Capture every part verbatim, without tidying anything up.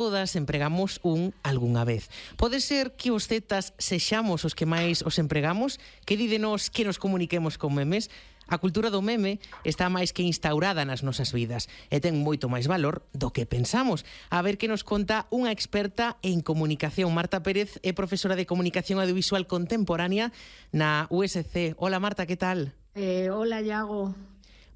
Todas empregamos un algunha vez. Pode ser que os zetas sexamos os que máis os empregamos? Que di de nós que nos comuniquemos con memes? A cultura do meme está máis que instaurada nas nosas vidas e ten moito máis valor do que pensamos. A ver que nos conta unha experta en comunicación. Marta Pérez é profesora de Comunicación Audiovisual Contemporánea na U S C. Hola Marta, que tal? Eh, hola, Iago.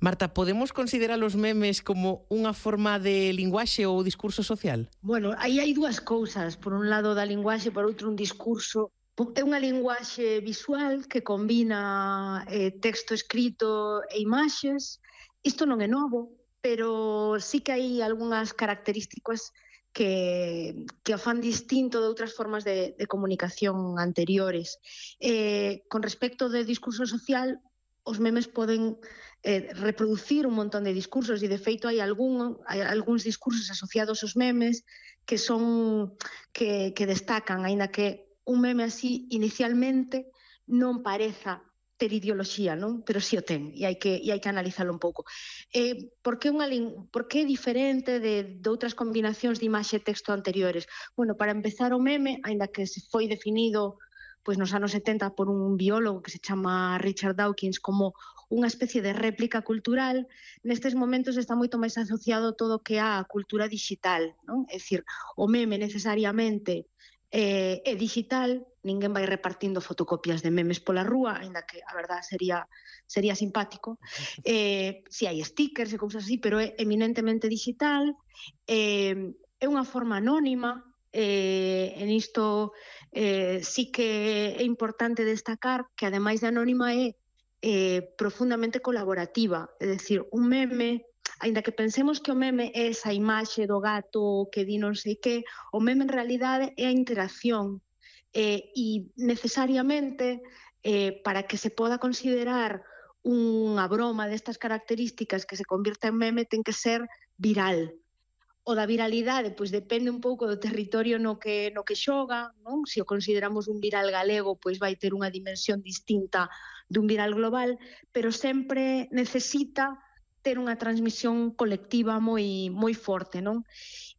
Marta, podemos considerar os memes como unha forma de linguaxe ou discurso social? Bueno, aí hai dúas cousas. Por un lado da linguaxe, por outro un discurso. É unha linguaxe visual que combina eh, texto escrito e imaxes. Isto non é novo, pero sí que hai algunhas características que, que o fan distinto de outras formas de, de comunicación anteriores. Eh, con respecto do discurso social, os memes poden eh, reproducir un montón de discursos e, de feito, hai, algún, hai algúns discursos asociados aos memes que son que, que destacan, aínda que un meme así inicialmente non pareza ter ideoloxía, non? Pero si o ten, e hai que, e hai que analizalo un pouco. Eh, por que unha por que é diferente de, de outras combinacións de imaxe e texto anteriores? Bueno, para empezar, o meme, aínda que se foi definido pois nos anos setenta por un biólogo que se chama Richard Dawkins como unha especie de réplica cultural, nestes momentos está moito máis asociado todo o que á cultura digital, non? É dicir, o meme necesariamente eh, é digital, ninguén vai repartindo fotocopias de memes pola rúa, aínda que a verdad sería sería simpático. Eh, si hai stickers e cousas así, pero é eminentemente digital, eh, é unha forma anónima. Eh, en isto eh, sí que é importante destacar que, ademais de anónima, é eh, profundamente colaborativa. É dicir, un meme, aínda que pensemos que o meme é esa imaxe do gato que di non sei que, o meme en realidade é a interacción eh, e necesariamente eh, para que se poda considerar unha broma destas características que se convirta en meme ten que ser viral. O da viralidade, pois depende un pouco do territorio no que, no que xoga, non? Se o consideramos un viral galego, pois vai ter unha dimensión distinta dun viral global, pero sempre necesita ter unha transmisión colectiva moi moi forte, non?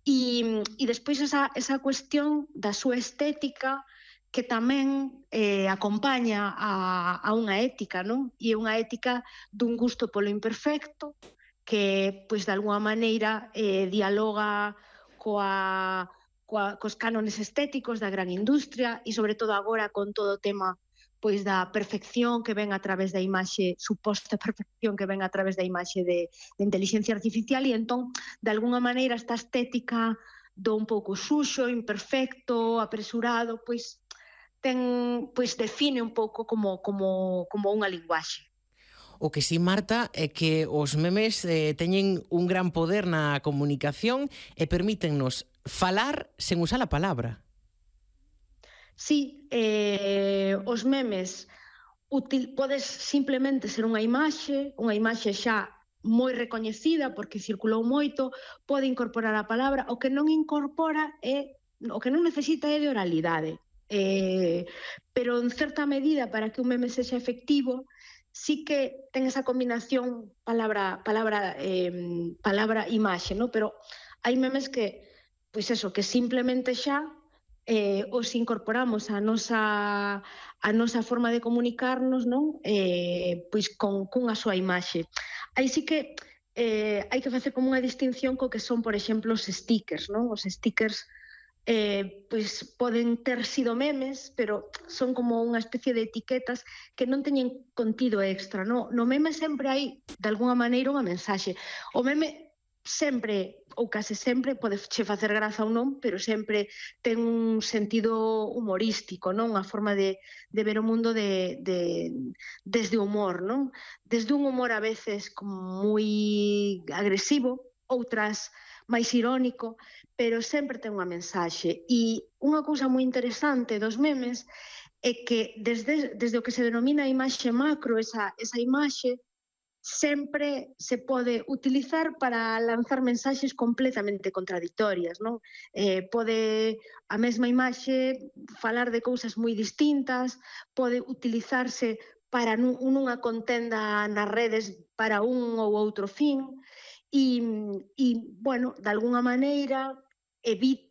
E, e despois esa, esa cuestión da súa estética que tamén eh, acompaña a, a unha ética, non? E unha ética dun gusto polo imperfecto, que, pois, de alguna maneira eh, dialoga coa, coa, cos cánones estéticos da gran industria e, sobre todo, agora con todo o tema pois da perfección que ven a través da imaxe, suposta perfección que ven a través da imaxe de, de inteligencia artificial, e entón, de alguna maneira, esta estética do un pouco suxo, imperfecto, apresurado, pois ten, pois define un pouco como, como, como unha linguaxe. O que sí, Marta, é que os memes eh, teñen un gran poder na comunicación e permítennos falar sen usar a palabra. Sí, eh, os memes útil, podes simplemente ser unha imaxe, unha imaxe xa moi recoñecida porque circulou moito, pode incorporar a palabra, o que non incorpora é, o que non necesita é de oralidade. Eh, pero en certa medida, para que un meme sexa efectivo, sí que ten esa combinación palabra palabra eh, palabra imaxe, ¿no? Pero hai memes que, pois eso, que simplemente xa eh, os incorporamos a nosa a nosa forma de comunicarnos, non? Eh, pois con cunha súa imaxe. Aí sí que eh, hai que facer como unha distinción co que son, por exemplo, os stickers, non? Os stickers Eh, pois poden ter sido memes, pero son como unha especie de etiquetas que non teñen contido extra, no? No meme sempre hai, de alguna maneira, unha mensaxe. O meme sempre, ou case sempre, pode che facer graza ou non, pero sempre ten un sentido humorístico, non? Unha forma de, de ver o mundo de, de, desde o humor, non? Desde un humor a veces como moi agresivo, outras máis irónico, pero sempre ten unha mensaxe. E unha cousa moi interesante dos memes é que desde, desde o que se denomina a imaxe macro, esa, esa imaxe sempre se pode utilizar para lanzar mensaxes completamente contradictorias, non? Eh, pode a mesma imaxe falar de cousas moi distintas, pode utilizarse para nunha contenda nas redes para un ou outro fin. E, e, bueno, de alguna maneira, evita